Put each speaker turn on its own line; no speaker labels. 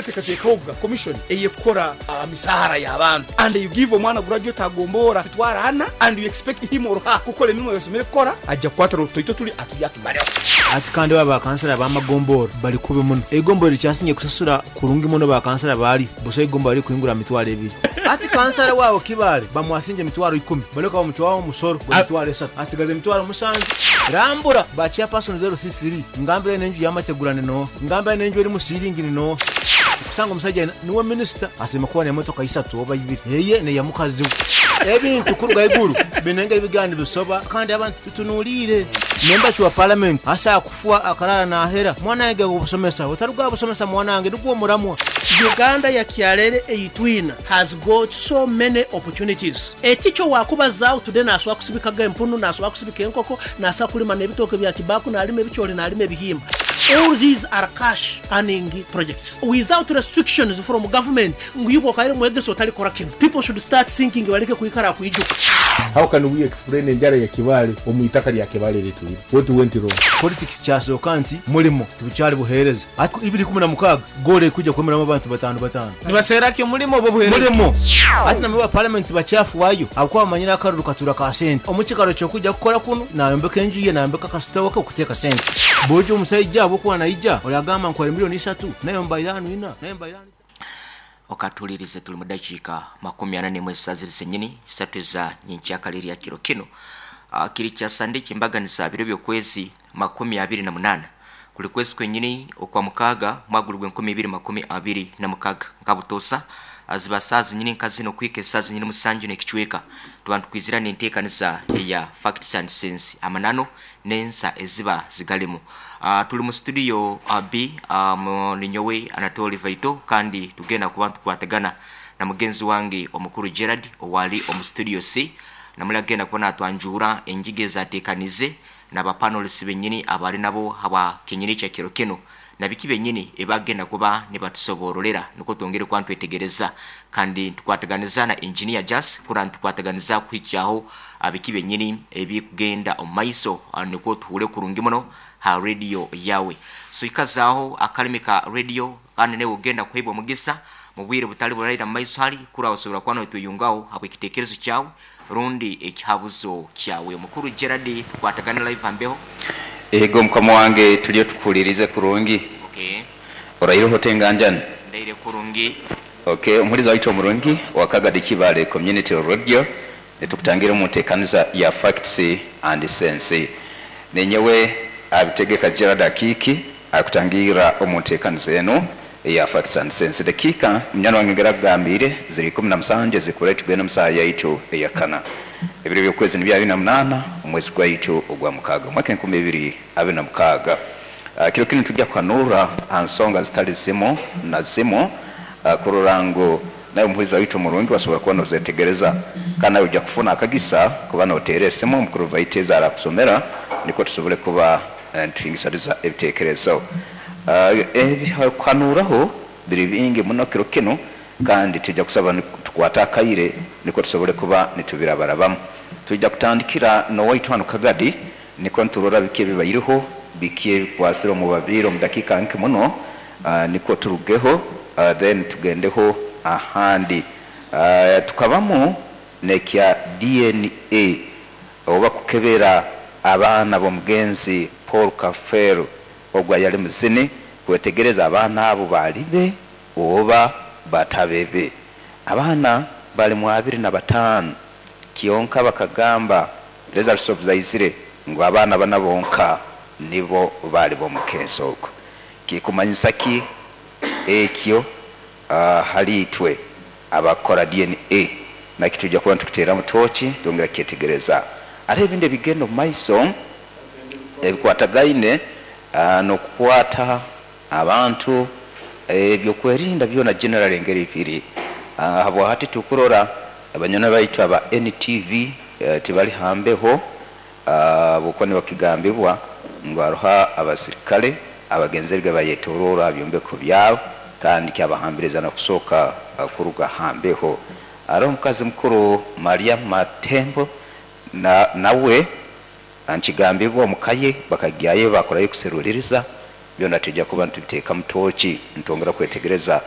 Teekateekahoga commission eyekukora aha misaara y'abantu and you give omwana graduate agomboora mitwaro ana and you expect him or her kukora emirimo eyosomire kukora, aija kukwata n'otutoito turi aturye atumareho.
Ati kandi ba bakansara b'amagombora bali kubi muno. Eigombora erikyasinge kusasura kurungi muno bakansara baalyo busa eigombora lirikuhingura aha mitwaro ebiri. Ati kansara waabo Kibaale bamwasinge emitwaro ikumi balyoka bamucwaho omusoro gw'emitwaro esatu asigaza emitwaro musanju. Rambura ba chairperson 033 ngambira n'enju y'amategura ni nooha? Ngambira n'enju erimu siiringi ni nooha? Okusanga omusaija niwe minisita asiima kuba n'emotoka isatu oba ibiri eye n'eya mukazi we. Ebintu kuruga haiguru biine engeri bigenda nibisoba kandi abantu tutunuliire. Memba wa palamenti asobola kufwa akaraara naahera. Mwana wange gaba obusomesa, otaruga aha busomesa mwana wange nigwo omuramwa.
Uganda ya kyarere eyi twina has got so many opportunities. Ekikyo wakubazaaho today nasobola kusibikaga empunu, nasobola kusibika enkoko, nasobola kulima n'ebitooke bya kibaku, nalima ebicooli, nalima ebihimba. All these are cash earning projects without restrictions from government ngu iwe okaire mwegesa otalikora kinu. People should start thinking baleke kwikara aha kwijuka.
How can we explain enjara ya Kibaale omu itaka lya Kibaale eritwire? What went wrong?
Politics kyasooka nti mulimo tibukyali buheereza. Ati 2016 goolo erikwija kwemeramu abantu bataano bataano.
Nibaseera ki omulimo oba obuheereza?
Mulimo. Ati namwe ba palamenti bakyafuayo ahabw'okuba bamanyire akaruru katuura ka sente. Omu kikaro ky'okwija kukora kunu nayombeka enju ye, nayombeka akasitowa ke okuteeka sente. Bwoija omusaija ahabw'okuba naija oragamba nkuhaire milioni isatu nayo mba iraano ina, nayo mba iraano itaano.
Okatuhulirize tuli mu dakiika 41 esaaha ziri zenyini isatu eza nyenkyakare erya kiro kinu. Kiri kya Sande eky'embaganiza biro by'okwezi 28 kuli kwezi kwenyini okwa mukaaga mwaka guli gw'e 2026. Nka butoosa ziba saaha zenyini nka zinu okuhika esaaha zenyini musanju n'ekicweka tuba nitukwizira n'enteekaniza eya Facts and Sense, amananu n'ensa eziba zigalimu. Tuli mu studio B, ninyowe Anatoli Vaito kandi tugenda kuba nitukwatagana na mugenzi wange omukuru Gerald owali omu studio C. Namuli agenda kuba natwanjuura engiga ezateekanize na ba panelists benyini abali nabo habwa kenyini ekya kiro kinu na biki benyini ebagenda kuba nibatusobororera nukwo twongere kuba nitwetegereza kandi nitukwataganiza na Engineer Jas kura nitukwataganiza kuhikyaho biki benyini ebikugenda omu maiso nukwo tuhure kurungi muno ha radio yawe. So ikazaaho akalimi ka radio kandi naiwe ogenda kuheebwa omugisa mu bwire butali buraira mu maiso hali kura osobora kuba notweyungaho habw'ekitekerezo kyawe rundi ekihabuzo kyawe. Omukuru Gerald tukwatagane live ambeho.
Ego mukama wange turiyo tukuhuririze kurungi.
Okay.
Oraireho ota enganjani?
Ndaire kurungi.
Okay, omuhuriza waitu omurungi owa Kagadi Kibaale Community Radio, nitukutangira omu nteekaniza ya Facts and Sense. Ninyowe Abitegeka Gerald Akiiki arikutangiirira omu nteekaniza enu eya Facts and Sense. Dakiika munywani wange engeri akugambiire ziri 17 ezirikubura tugende omu saaha yaitu eya kana. Ebiro by'okwezi nibyo 28 omwezi gwaitu ogwa mukaaga omwaka 2026. Kiro kinu nitwija kuhanuura aha nsonga zitali zimu na zimu kurora ngu naiwe omuhuriza waitu omurungi wasobora kuba nozetegereza. Kandi naiwe oija kufuna akagisa kuba noteera esimu omukuru Vaite ezi arakusomera nikwo tusobole kuba nituhingisaniza ebitekerezo. Ebyokuhanuuraho biri bingi muno kiro kinu kandi twija kusaba tukwate akaire nikwo tusobole kuba nitubirabarabamu. Twija kutandikira n'owaitu hanu Kagadi nikwo niturora biki ebibaireho, biki ebikwasire omu babiire omu dakiika nke muno nikwo turugeho then tugendeho ahandi. Tukabamu n'ekya DNA oba kukebera abaana b'omugenzi Paul Kafeero ogu ayali muzini kwetegereza abaana abo baali be oba batabebe. Abaana bali mu 25 kyonka bakagamba results obu zaizire ngu abaana bana bonka nibo baali b'omukensi ogwo. Kikumanyisa ki ekyo hali itwe abakukora DNA? Nakyo twija kuba nitukiteeramu tooki twongera kukyetegereza. Hariho ebindi ebigenda omu maiso ebikwatagaine n'okukwata abantu, ebyokwerinda byona generally engeri biri. Habwahati tukurora abanywani baitu aba NTV tibali ha mbeho habwokuba nibakigambibwa ngu haroho abasirikale abagenzerege bayetoroora ha byombeko byabo kandi kyabahambiriza n'okusooka kuruga ha mbeho. Haroho omukazi mukuru Maria Matembo nawe nkigambibwa omuka ye bakagyayo bakorayo kuseruliriza byona twija kuba nitubiteekamu tooki nitwongera kwetegereza.